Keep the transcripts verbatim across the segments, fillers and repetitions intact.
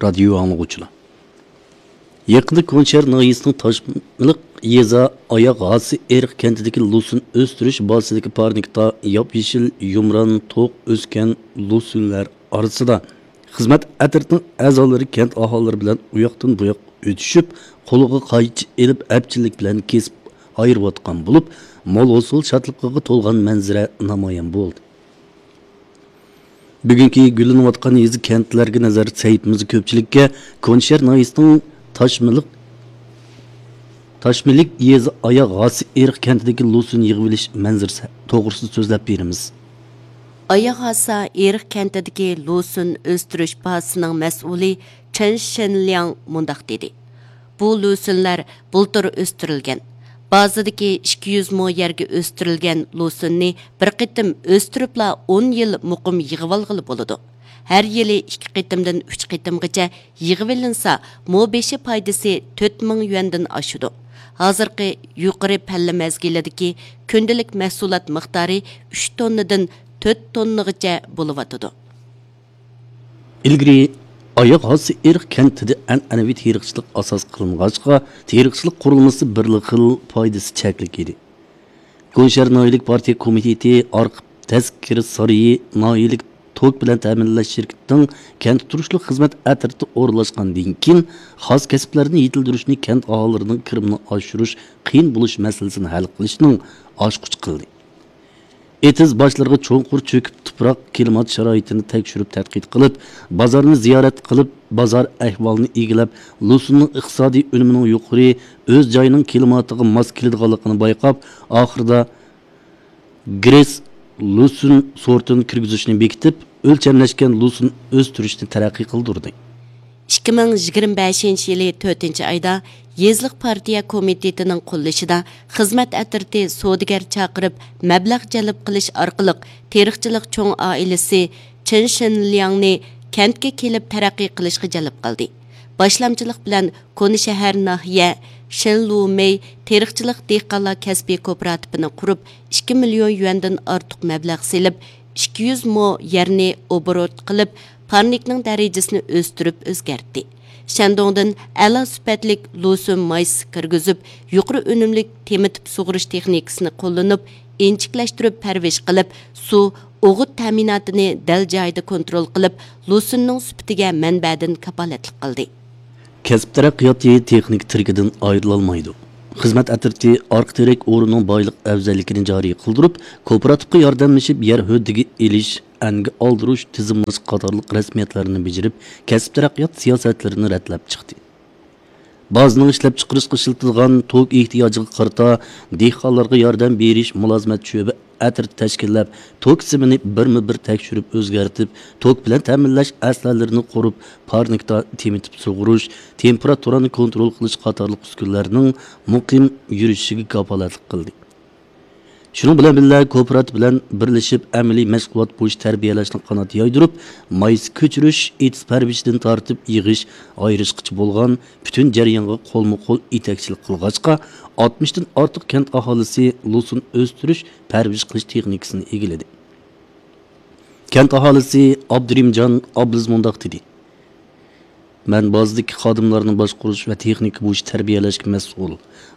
رادىيو ئاڭلىغۇچىلار! يېقىندا كونشەھەر ناھىيەسىنىڭ تاشمىلىق يېزا ئاياغ ھاسى ئېرىق كەنتىدىكى لوسۇن ئۆستۈرۈش بازىسىدىكى پارنىكتا ياپيېشىل يۇمران توق ئۆسكەن لوسۇنلار ئارىسىدا خىزمەت ئەترىتىنىڭ ئەزالىرى كەنت ئاھالىلىرى بىلەن ئۇياقتىن بۇياق ئۆتۈشۈپ، قولىغا قايچا ئېلىپ، ئەپچىللىك بىلەن كېسىپ ئايرىۋاتقان بولۇپ، مول ھوسۇل شادلىقىغا تولغان مەنزىرە نامايان بولدى. بۈگۈنكى گۈللىنىۋاتقان يېزا كەنتلەرگە نەزەر سەھىپىمىزدە كۆپچىلىككە كونشەھەر ناھىيەسىنىڭ تاشمىلىق، تاشمىلىك يېزا ئاياغ ھاسى ئېرىق كەنتىدىكى لوسۇن يىغىۋېلىش مەنزىرىسى توغرىسىدا سۆزلەپ بېرىمىز. ئاياغ ھاسا ئېرىق كەنتىدىكى لوسۇن ئۆستۈرۈش بازىسىنىڭ مەسئۇلى چېن شېنلياڭ مۇنداق دېدى: بۇ لوسۇنلار بۇلتۇر ئۆستۈرۈلگەن. بازىدىكى ئىككى يۈز مو يەرگە ئۆستۈرۈلگەن لوسۇننى بىر قېتىم ئۆستۈرۈپلا ئون يىل مۇقىم يىغىۋالغىلى بولىدۇ. ھەر يىلى ئىككى قېتىمدىن ئۈچ قېتىمغىچە يىغىۋېلىنسا، مو بېشى پايدىسى تۆت مىڭ يۈەندىن ئاشىدۇ. ھازىرقى يۇقىرى پەللە مەزگىلىدىكى كۈندىلىك مەھسۇلات مىقدارى ئۈچ توننىدىن تۆت توننىغىچە بولۇۋاتىدۇ. ئىلگىرى ئاياغ ھاسى ئېرىق كەنتىدە ئەنئەنىۋى تېرىقچىلىق ئاساس قىلىنغاچقا، تېرىقچىلىق قۇرۇلمىسى بىرلا خىل، پايدىسى چەكلىك ئىدى. كونشەھەر ناھىيەلىك پارتىيە كومىتېتى ئارقا تەسكىرى سارىيى ناھىيەلىك توك بىلەن تەمىنلەش شىركىتىنىڭ كەنتتە تۇرۇشلۇق خىزمەت ئەترىتى ئورۇنلاشقاندىن كېيىن، خاس كەسىپلەرنى يېتىلدۈرۈشنى كەنت ئاھالىلىرىنىڭ كىرىمىنى ئاشۇرۇش قىيىن بولۇش مەسىلىسىنى ھەل قىلىشنىڭ ئاچقۇچى قىلدى. ئېتىز باشلىرىغا چوڭقۇر چۆكۈپ، تۇپراق، كىلىمات شارائىتىنى تەكشۈرۈپ تەتقىق قىلىپ، بازارنى زىيارەت قىلىپ، بازار ئەھۋالىنى ئىگىلەپ، لوسۇننىڭ ئىقتىسادىي ئۈنۈمىنىڭ يۇقىرى، ئۆز جايىنىڭ كىلىماتىغا ماس كېلىدىغانلىقىنى بايقاپ، ئاخىرىدا گرېس لوسۇن سورتىنى كىرگۈزۈشنى بېكىتىپ، ئۆلچەملەشكەن لوسۇن ئۆستۈرۈشنى تەرەققىي قىلدۇردى. ئىككى مىڭ يىگىرمە بەشىنچى يىلى تۆتىنچى ئايدا يېزىلىق پارتىيە كومىتېتىنىڭ قوللىشىدا خىزمەت ئەترىتى سودىگەر چاقىرىپ، مەبلەغ جەلپ قىلىش ئارقىلىق تېرىقچىلىق چوڭ ئائىلىسى چېن شېنلياڭنى كەنتكە كېلىپ تەرەققىي قىلىشقا جەلپ قىلدى. باشلامچىلىق بىلەن كونا شەھەر ناھىيە شېنلۇمېي تېرىقچىلىق دېھقانلار كەسپىي كوپىراتىپىنى قۇرۇپ، ئىككى مىليون يۈەندىن ئارتۇق مەبلەغ سېلىپ، ئىككى يۈز مو يەرنى ئوبوروت قىلىپ، پارنىكنىڭ دەرىجىسىنى ئۆستۈرۈپ ئۆزگەرتتى. شەندۇڭدىن ئەلا سۈپەتلىك لوسۇن مايسىسى كىرگۈزۈپ، يۇقىرى ئۈنۈملۈك تېمىتىپ سۇغۇرۇش تېخنىكىسىنى قوللىنىپ، ئىنچىكىلەشتۈرۈپ پەرۋىش قىلىپ، سۇ، ئوغۇت تەمىناتىنى دەل جايىدا كونترول قىلىپ، لوسۇننىڭ سۈپىتىگە مەنبەدىن كاپالەتلىك قىلدى. كەسىپ تەرەققىياتى تېخنىكا تىرىكىدىن ئايرىلالمايدۇ. خىزمەت ئەترىتى ئارقا تىرەك ئورنىنىڭ بايلىق ئەۋزەللىكىنى جارى قىلدۇرۇپ، كوپىراتىپقا ياردەملىشىپ يەر ھۆددىگە ئېلىش، ئەنگە ئالدۇرۇش، تىزىملاش قاتارلىق رەسمىيەتلەرنى بېجىرىپ، كەسىپ تەرەققىيات سىياسەتلىرىنى رەتلەپ چىقتى. بازىنىڭ ئىشلەپچىقىرىشقا ئىشلىتىدىغان توك ئېھتىياجىغا قارىتا دېھقانلارغا ياردەم بېرىش مۇلازىمەت شۆبە ئەترىتى تەشكىللەپ، توك سىمىنى بىرمۇ بىر تەكشۈرۈپ ئۆزگەرتىپ، توك بىلەن تەمىنلەش ئەسلىھەلىرىنى قۇرۇپ، پارنىكتا تېمىتىپ سۇغۇرۇش، تېمپېراتۇرانى كونترول قىلىش قاتارلىق ئۈسكۈنىلەرنىڭ مۇقىم يۈرۈشۈشىگە كاپالەتلىك قىلدى. شۇنىڭ بىلەن بىللە، كوپىراتىپ بىلەن بىرلىشىپ ئەمەلىي مەشغۇلات بويىچە تەربىيەلەشنى قانات يايدۇرۇپ، مايسا كۆچۈرۈش، ئېتىز پەرۋىشىدىن تارتىپ يىغىش، ئايرىشقىچە بولغان پۈتۈن جەريانغا قولمۇ قول يېتەكچىلىك قىلغاچقا، ئاتمىشتىن ئارتۇق كەنت ئاھالىسى لوسۇن ئۆستۈرۈش، پەرۋىش قىلىش تېخنىكىسىنى ئىگىلىدى. كەنت ئاھالىسى ئابدۇرېھىمجان ئابلىز مۇنداق دېدى: مەن بازىدىكى خادىملارنى باشقۇرۇش ۋە تېخنىكا بويىچە تەربىيەلەشكە مەسئۇل.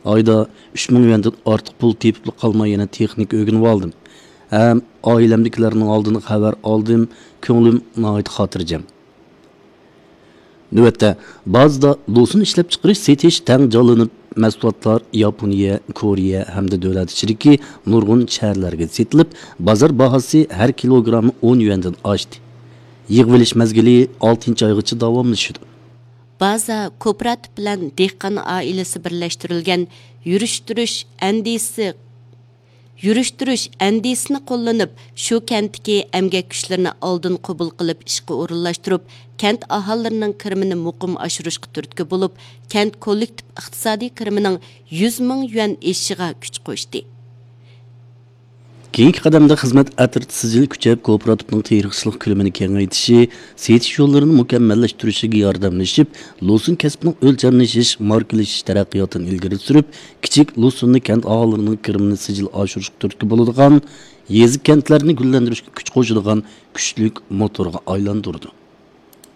ئايدا ئۈچ مىڭ يۈەندىن ئارتۇق پۇل تېپىپلا قالماي، يەنە تېخنىكا ئۆگىنىۋالدىم ھەم ئائىلەمدىكىلەرنىڭ ئالدىدا خەۋەر ئالدىم. كۆڭلۈم ناھايىتى خاتىرجەم. نۆۋەتتە، بازىدا لوسۇن ئىشلەپچىقىرىش، سېتىش تەڭ جانلىنىپ، مەھسۇلاتلار ياپونىيە، كورېيە ھەمدە دۆلەت ئىچىدىكى نۇرغۇن شەھەرلەرگە سېتىلىپ، بازار باھاسى ھەر كىلوگرامى ئون يۈەندىن ئاشتى. يىغىۋېلىش مەزگىلى ئالتىنچى ئايغىچە داۋاملىشىدۇ. بازا كوپىراتىپ بىلەن دېھقان ئائىلىسى بىرلەشتۈرۈلگەن يۈرۈشتۈرۈش ئەندىزىسى يۈرۈشتۈرۈش ئەندىزىسىنى قوللىنىپ، شۇ كەنتتىكى ئەمگەك كۈچلىرىنى ئالدىن قوبۇل قىلىپ ئىشقا ئورۇنلاشتۇرۇپ، كەنت ئاھالىلىرىنىڭ كىرىمىنى مۇقىم ئاشۇرۇشقا تۈرتكە بولۇپ، كەنت كوللېكتىپ ئىقتىسادىي كىرىمىنىڭ يۈز مىڭ يۈەن ئېشىشىغا كۈچ قوشتى. كېيىنكى قەدەمدە خىزمەت ئەترىتى سىجىل كۈچەپ، كوپىراتىپنىڭ تېرىقچىلىق كۆلىمىنى كېڭەيتىشى، سېتىش يوللىرىنى مۇكەممەللەشتۈرۈشىگە ياردەملىشىپ، لوسۇن كەسپىنىڭ ئۆلچەملىشىش، ماركىلىشىش تەرەققىياتىنى ئىلگىرى سۈرۈپ، كىچىك لوسۇننى كەنت ئاھالىلىرىنىڭ كىرىمىنى سىجىل ئاشۇرۇشقا تۈرتكە بولىدىغان، يېزا، كەنتلەرنى گۈللەندۈرۈشكە كۈچ قوشىدىغان كۈچلۈك موتورغا ئايلاندۇرىدۇ.